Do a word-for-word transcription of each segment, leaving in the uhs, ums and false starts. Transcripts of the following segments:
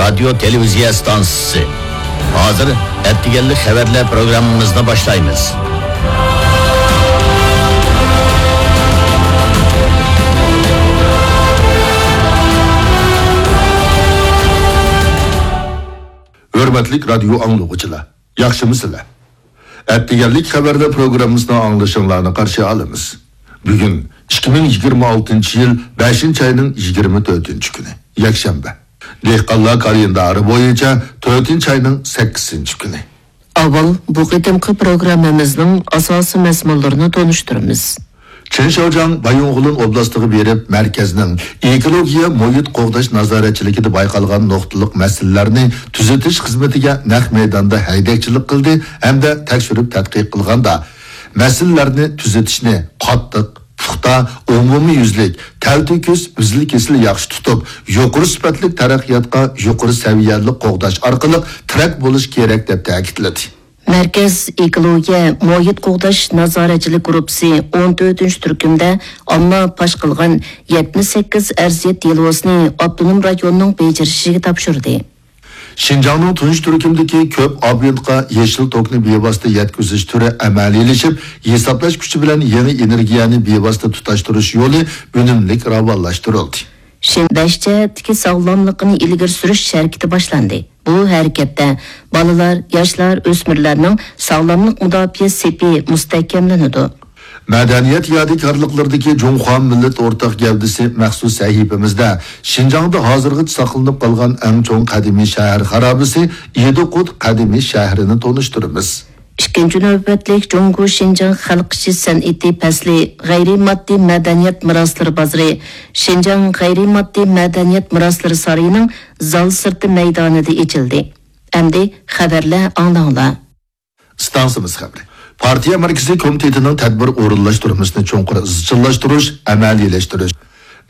رادىيو تېلېۋىزىيە ئىستانسىسى. ھازىر ئەتىگەنلىك خەۋەرلەر پروگراممىمىزنى باشلايمىز. ھۆرمەتلىك رادىيو ئاڭلىغۇچىلار، ياخشىمۇسىلەر؟ ئەتىگەنلىك خەۋەرلەر پروگراممىسىنى ئاڭلىشىڭلارنى قارشى ئالىمىز. بۈگۈن ئىككى مىڭ يىگىرمە ئالتىنچى يىل بەشىنچى ئاينىڭ يىگىرمە تۆتىنچى كۈنى، يەكشەنبە. دېھقانلار كالېندارى بويىچە تۆتىنچى ئاينىڭ سەككىزىنچى كۈنى. ئاۋۋال بۇ قېتىمقى پروگراممىمىزنىڭ ئاساسىي مەزمۇنلىرىنى تونۇشتۇرىمىز. چېن شياۋجياڭ بايىنغولىن ئوبلاستىغا بېرىپ، مەركەزنىڭ ئېكولوگىيە مۇھىت قوغداش نازارەتچىلىكىدە بايقالغان نۇقتىلىق مەسىلىلەرنى تۈزىتىش خىزمىتىگە نەق مەيداندا ھەيدەكچىلىك قىلدى ھەمدە تەكشۈرۈپ تەتقىق قىلغاندا، مەسىلىلەرنى تۈزىتىشنى قاتتىق، پۇختا، ئومۇميۈزلۈك، تەلتۆكۈس، ئۈزۈل-كېسىل ياخشى تۇتۇپ، يۇقىرى سۈپەتلىك تەرەققىياتقا يۇقىرى سەۋىيەلىك قوغداش ئارقىلىق تىرەك بولۇش كېرەك، دەپ تەكىتلىدى. مەركەز ئېكولوگىيە مۇھىت قوغداش نازارەتچىلىك گۇرۇپپىسى ئون تۆتىنچى تۈركۈمدە ئامما پاش قىلغان يەتمىش سەككىز ئەرزىيەت دېلوسىنى ئاپتونوم رايوننىڭ بېجىرىشىگە تاپشۇردى. شىنجاڭنىڭ تۇنجى تۈركۈمدىكى كۆپ ئابونتقا يېشىل توكنى بىۋاسىتە يەتكۈزۈش تۈرى ئەمەلىيلىشىپ، ھېسابلاش كۈچى بىلەن يېڭى ئېنېرگىيەنى بىۋاسىتە تۇتاشتۇرۇش يولى ئۈنۈملۈك راۋانلاشتۇرۇلدى. شىنجاڭ بەش جەھەتتىكى ساغلاملىقنى ئىلگىرى سۈرۈش ھەرىكىتى باشلاندى. بۇ ھەرىكەتتە بالىلار، ياشلار، ئۆسمۈرلەرنىڭ ساغلاملىق مۇداپىئە سېپى مۇستەھكەملىنىدۇ. مەدەنىيەت يادىكارلىقلىرىدىكى جۇڭخۇا مىللەت ئورتاق گەۋدىسى مەخسۇس سەھىپىمىزدە شىنجاڭدا ھازىرغىچە ساقلىنىپ قالغان ئەڭ چوڭ قەدىمىي شەھەر خارابىسى ئىدىقۇت قەدىمىي شەھىرىنى تونۇشتۇرىمىز. ئىككىنچى نۆۋەتلىك جۇڭگو شىنجاڭ خەلق ئىشى سەنئىتى پەسلى غەيرىي ماددىي مەدەنىيەت مىراسلىرى بازىرى شىنجاڭ غەيرىي ماددىي مەدەنىيەت مىراسلىرى سارىيىنىڭ زال سىرتى مەيدانىدا ئېچىلدى. ئەمدى خەۋەرلەر ئاڭلاڭلار. ئىستانسىمىز خەۋىرى. پارتىيە مەركىزىي كومىتېتىنىڭ تەدبىر ئورۇنلاشتۇرمىسىنى چوڭقۇر ئىزچىللاشتۇرۇش، ئەمەلىيلەشتۈرۈش.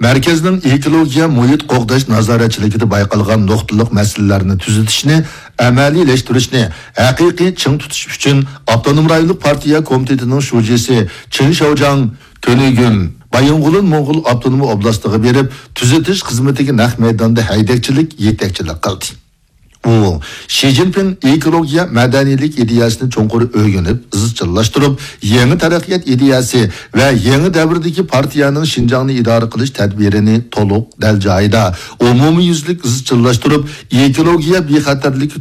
مەركەزنىڭ ئېكولوگىيە مۇھىت قوغداش نازارەتچىلىكىدە بايقالغان نۇقتىلىق مەسىلىلەرنى تۈزىتىشنى، ئەمەلىيلەشتۈرۈشنى ھەقىقىي چىڭ تۇتۇش ئۈچۈن ئاپتونوم رايونلۇق پارتىيە كومىتېتىنىڭ شۇجىسى چېن شياۋجياڭ تۈنۈگۈن بايىنغولىن موڭغۇل ئاپتونوم ئوبلاستىغا بېرىپ، تۈزىتىش خىزمىتىگە نەق مەيداندا ھەيدەكچىلىك، يېتەكچىلىك قىلدى. ئۇ شى جىنپىڭ ئېكولوگىيە مەدەنىيلىك ئىدىيەسىنى چوڭقۇر ئۆگىنىپ، ئىزچىللاشتۇرۇپ، يېڭى تەرەققىيات ئىدىيەسى ۋە يېڭى دەۋردىكى پارتىيەنىڭ شىنجاڭنى ئىدارە قىلىش تەدبىرىنى تولۇق، دەل جايىدا، ئومۇميۈزلۈك ئىزچىللاشتۇرۇپ، ئېكولوگىيە بىخەتەرلىك